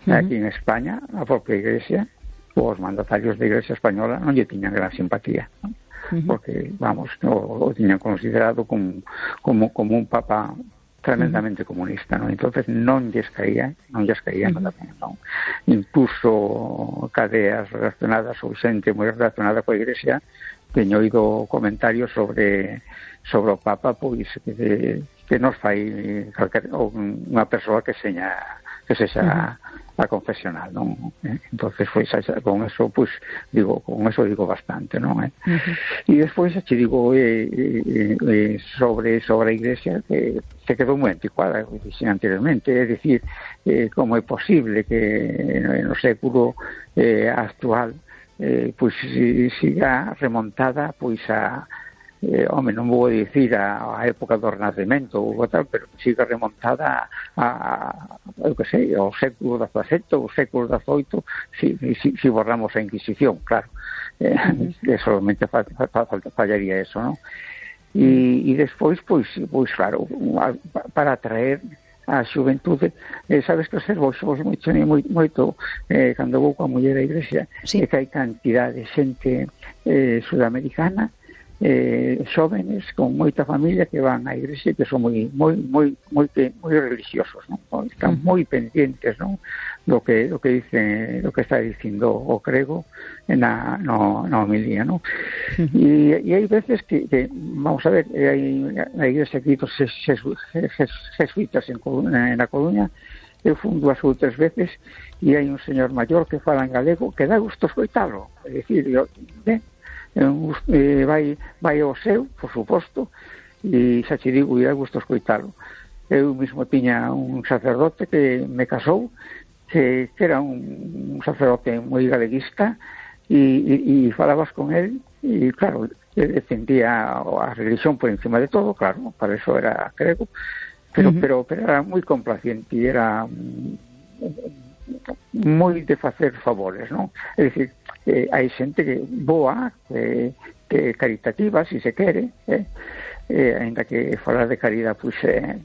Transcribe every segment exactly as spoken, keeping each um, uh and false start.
Aquí en España, a propia Iglesia, os mandatarios da Iglesia española non lle tiñan gran simpatía, non? Uh-huh. Porque, vamos, o, o tiñan considerado como, como, como un papa tremendamente uh-huh. comunista, non? Entonces non lles caía, non lles caía uh-huh. nada ben, non? Incluso cadeas relacionadas ou xente moi relacionada coa Iglesia teño oído comentarios sobre sobre o papa, pois que, que nos fai calquer, unha persoa que seña que sexa uh-huh. a confesional, non? Entonces, pois, con eso, pois, digo, con eso digo bastante, non? Uh-huh. E despois, che digo, eh, eh, eh, sobre sobre a Iglesia, que se quedou moi anticuada, como dixen anteriormente, é dicir, eh, como é posible que no século eh, actual eh, pois siga remontada, pois, a Eh, home, non vou dicir a, a época do Renacemento ou tal, pero siga remontada a, a eu que sei, ao século dezasete ou século dezoito, si, si, si borramos a Inquisición, claro, eh, que solamente fa, fa, fa, fallaría eso, non? E, e despois, pois, pois claro, para atraer a xuventude, eh, sabes que observo vos moito, moito, moito eh, cando vou coa muller da Iglesia, sí. é que hai cantidad de xente eh, sudamericana, eh, xóvenes con moita familia que van á igrexa, que son moi moi moi moi moi religiosos, non? Están moi pendientes, non? Do que do que dice, do que está dicindo o crego na no na homilía, non? Uh-huh. E e hai veces que, que vamos a ver, hai na igrexa aquí dos jesuítas en Coruña, na Coruña, eu fui dúas ou tres veces e hai un señor maior que fala en galego que dá gusto escoitalo, é dicir, eu, ben, Eh, vai, vai ao seu, por suposto, e xa che digo, e dá gusto escoitalo. Eu mesmo tiña un sacerdote que me casou, que, que era un, un sacerdote moi galeguista, e, e, e falabas con él, e claro, ele defendía a religión por encima de todo, claro, para eso era grego, pero, uh-huh. pero, pero era moi complaciente, e era moi de facer favores, non? É dicir, eh, hai xente que boa, que, que caritativa, si se quere, eh? Eh, ainda que falar de caridade, pois, eh,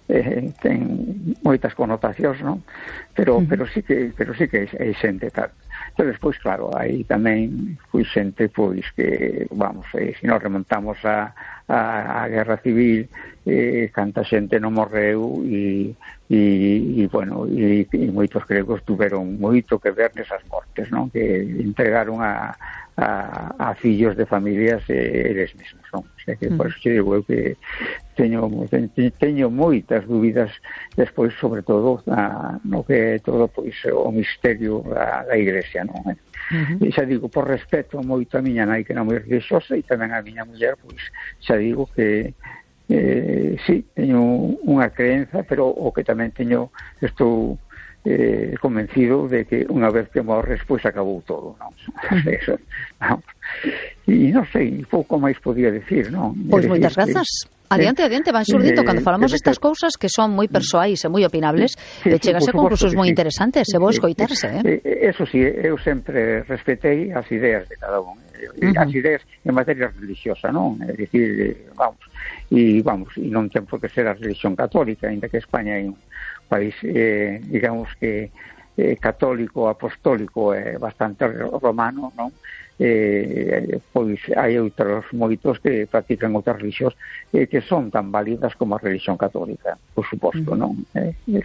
eh, ten moitas connotacións, non? Pero, uh-huh. pero sí que, pero sí que hai xente tal. Pero despois, claro, aí tamén foi xente, pois, que, vamos, eh, se nos remontamos a, a, a Guerra Civil, eh, canta xente non morreu e e, e bueno, e, e moitos gregos tuveron moito que ver nesas mortes, non? Que entregaron a, a, a fillos de familias eh, eles mesmos, non? O sea que, por eso digo eu que teño, teño moitas dúbidas despois, sobre todo, na, no que é todo, pois, o misterio da, da Iglesia, non? Uh-huh. E xa digo, por respeto moito a miña nai, que era moi religiosa, e tamén a miña muller, pois, xa digo que Eh, sí, teño unha creenza, pero o que tamén teño, estou eh, convencido de que unha vez que morres, pois acabou todo, non? Eso, non? E non sei, pouco máis podía decir, non? Pois moitas grazas. Adiante, adiante, van xurdindo cando falamos destas cousas que son moi persoais e moi opinables, e chegase a conclusións moi interesantes, e vou escoitarse, eh? Eso sí, eu sempre respetei as ideas de cada un, as ideas en materia religiosa, non? É dicir, vamos, e vamos, e non ten por que ser a religión católica, ainda que España é un país, eh, digamos que eh, católico, apostólico, é eh, bastante romano, non? Eh, pois hai outros moitos que practican outras religións eh, que son tan válidas como a religión católica, por suposto, uh-huh. non? Eh, eh,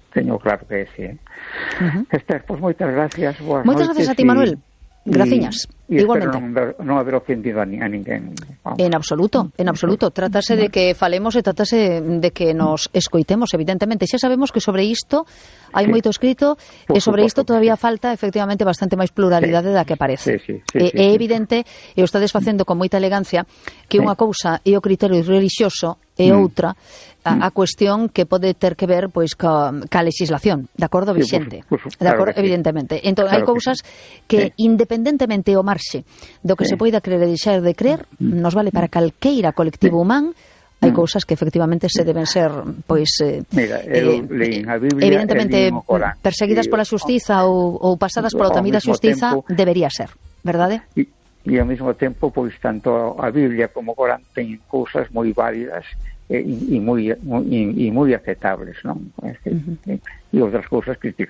teño claro que é ese. Eh. Uh-huh. Esther, pois moitas gracias. Moitas gracias a ti, Manuel. Graciñas, e, igualmente. Non, non haber ofendido a, a ninguén. Vamos. En absoluto, en absoluto. Trátase de que falemos e trátase de que nos escoitemos, evidentemente. Xa sabemos que sobre isto hai sí. moito escrito e sobre isto todavía sí. falta efectivamente bastante máis pluralidade sí. da que parece. Sí, sí, sí, é, sí, é evidente, e o estades facendo con moita elegancia, que sí. unha cousa é o criterio religioso e mm. outra a, a cuestión que pode ter que ver pois ca, ca legislación, de acordo, vixente. Sí, por, por, por, de acordo, claro evidentemente. Sí. Entón, claro hai cousas que, que sí. independentemente o marxe do que sí. se poida creer e deixar de creer, nos vale para calqueira colectivo humán. Hai cousas que efectivamente se deben ser, pois, eh, Mira, eu leín a Biblia, evidentemente perseguidas pola xustiza ou, ou pasadas pola tamida xustiza, tempo, debería ser, verdade? E, e ao mesmo tempo, pois, tanto a Biblia como o Corán ten cousas moi válidas e, e moi, moi, e moi aceptables, non? Uh-huh. E outras cousas criticables.